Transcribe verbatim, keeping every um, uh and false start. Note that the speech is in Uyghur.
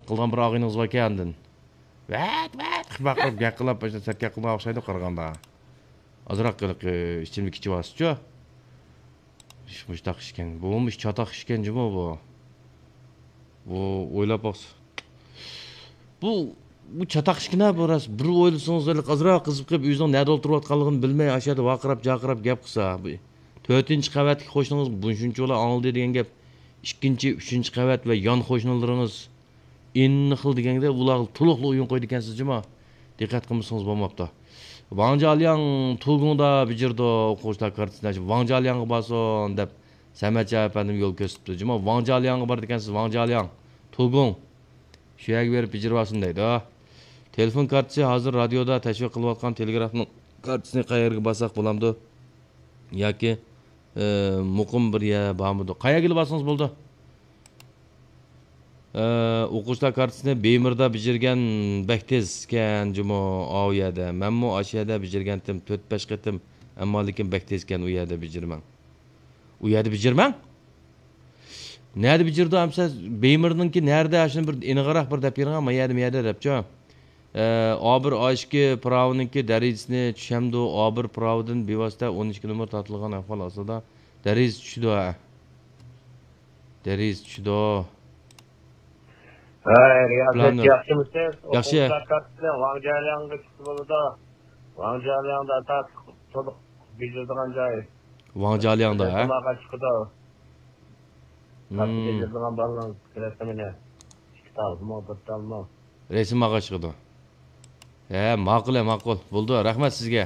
قىلغان بىر ئاغىنىڭىز باركەن ئاندىن. ۋەت، ۋەت، قىلماق قىلىپ، گەپ قىلىپ، باشتا سەت گەپ قىلماق ئوخشايدۇ قارىغاندا. ئازراق ھېلىقى ئىچىملىك ئىچىۋالسىچۇ. ئىش مۇشتاق ئىشكەن. بۇمۇ چاتاق ئىشكەن جۇمۇ بۇ. بۇ ئويلاپ باقسا. بۇ، بۇ چاتاق ئىشكىنە بۇ راست. بىر ئويلىسىڭىز، ھېلىقى ئازراق قىزىپ قېلىپ، ئۆزىنىڭ نەدە ئولتۇرۇۋاتقانلىقىنى بىلمەي، ئاشۇ يەردە ۋارقىراپ، جارقىراپ گەپ قىلسا. بۇ تۆتىنچى قەۋەتتىكى قوشنىڭىز بۇنى شۇنچىۋالا ئاڭلىدى دېگەن گەپ. ئىككىنچى، ئۈچىنچى قەۋەت ۋە يان قوشنىلىرىڭىز ئىننىخىل دېگەندە ئۇلارغا تولۇقلا ئويۇن قويىدىكەنسىز جۇما. دىققەت قىلمىسىڭىز بولماپتۇ. ۋاڭ جيالياڭ تۇگۇڭدا بېجىرىدۇ، ئوقۇغۇچىلار كارتىسىنى ئاچىپ، ۋاڭ جيالياڭغا بارسۇن دەپ سەمەتجان ئەپەندىم يول كۆرسىتىپتۇ. جۇما، ۋاڭ جيالياڭغا بارىدىكەنسىز، ۋاڭ جيالياڭ، تۇگۇڭ. شۇ يەرگە بېرىپ بېجىرىۋالسۇن دەيدۇ. تېلېفون كارتىسى ھازىر رادىيودا تەشۋىق قىلىۋاتقان تېلېگرافنىڭ كارتىسىنى قەيەرگە بارساق بولامدۇ؟ ياكى، ئى، مۇقىم بىر يەر بارمىدۇ؟ قەيەرگىلا بارسىڭىز بولىدۇ. ئى، ئوقۇغۇچىلار كارتىسىنى بېيمىردا بېجىرگەن بەك تېز ئىكەن جۇمۇ ئاۋۇ يەردە. مەنمۇ ئاشۇ يەردە بېجىرگەنتىم تۆت-بەش قېتىم. ئەمما لېكىن بەك تېز ئىكەن ئۇ يەردە بېجىرمەڭ. ئۇ يەردە بېجىرمەڭ؟ نەدە بېجىرىدۇ ئەمسە؟ بېيمىرنىڭكى نەدە؟ شۇنى بىر ئېنىقراق بىر دەپ بېرىڭ، ما يەردە، ما يەردە دەپچۇ. ئى، ئا بىر، ئا ئىككى پىراۋىنىڭكى دەرىجىسىنى چۈشەمدۇ؟ ئا بىر پىراۋىدىن بىۋاسىتە ئون ئىككى نومۇر تارتىلغان ئەھۋال ئاستىدا دەرىجىسى چۈشىدۇ، ھە. دەرىجىسى چۈشىدۇ. ھەي، رىياسەت، ياخشىمۇسىز؟ ياخشى. ئوقۇغۇچىلار كارتىسى ۋاڭ جيالياڭغا چىقسا بولىدۇ. ۋاڭ جيالياڭدا تارتىپ تولۇق بېجىرىدىغان جاي. ۋاڭ جيالياڭدا، ھە؟ رەسىماغا چىقىدۇ. كارتا بېجىرىدىغان بالىنىڭ رەسىمىنى. ئىككى تال مۇ، بىر تال مۇ. رەسىماغا چىقىدۇ. ھە، ماقۇل، ھە، ماقۇل. بولدى، رەھمەت سىزگە.